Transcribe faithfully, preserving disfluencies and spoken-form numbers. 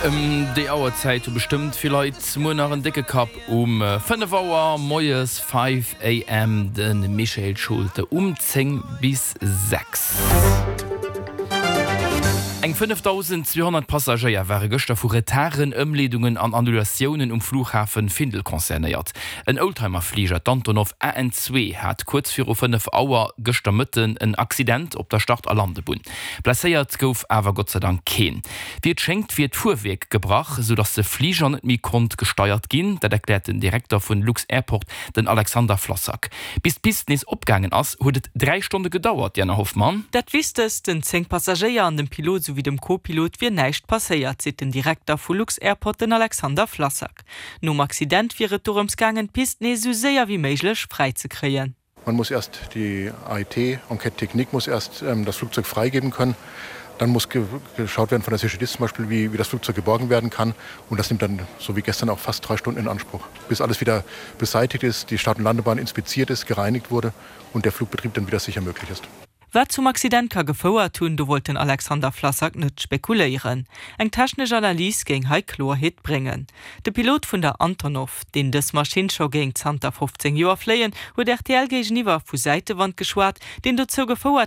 Ëm déi Auerzäit hu bestëmmt vill Leit muer nach en décke Kapp um fënnef Auer moies, five AM, de Michael Schulte um zéng bis sechs. Eng fënnefdausendzweehonnert Passagéier ware gëschter vu Retarden, Ëmleedungen an Annulatiounen um Flughafen Findel concernéiert. En Oldtimer-Fliger, d'Antonov A N zwee, hat kuerz viru fënnef Auer gëschter Mëtten en Accident op der Start a Landebunn. Blesséiert gouf awer Gott sei Dank keen. Wéi et schéngt wier d'Fuerwierk gebrach, sou datt de Fliger net méi konnt gesteiert ginn. Dat erkläert den Direkter vun lux-Airport, den Alexander Flassak. Bis d'Pist nees opgaangen ass, huet et dräi Stonne gedauert, Diana Hoffmann. Dat Wichtegst, Den zéng Passagéier an dem Pilot souwéi dem Co-Pilot wier näischt passéiert, seet den Direkter vu lux-Airport, den Alexander Flassak. Nom Accident wier et dorëms gaangen, d'Pist nees esou séier wéi méiglech fräi ze kréien. Man muss erst die A I T, Enquête Technique, muss erst das Flugzeug freigeben können. Dann muss geschaut werden von der C G D I S zum Beispiel, wie, wie das Flugzeug geborgen werden kann. Und das nimmt dann, so wie gestern auch, fast drei Stunden in Anspruch, bis alles wieder beseitigt ist, die Start- und Landebahn inspiziert ist, gereinigt wurde und der Flugbetrieb dann wieder sicher möglich ist. Wat zum Accident ka gefouert hunn, do wollt den Alexander Flassak net spekuléieren. Eng technesch Analys géing hei Kloerheet bréngen. De Pilot vun der Antonov, deen dës Maschinn scho géing zanter fofzéng Joer fléien, huet R T L géigeniwwer vu Säitewand geschwat, deen dozou gefouert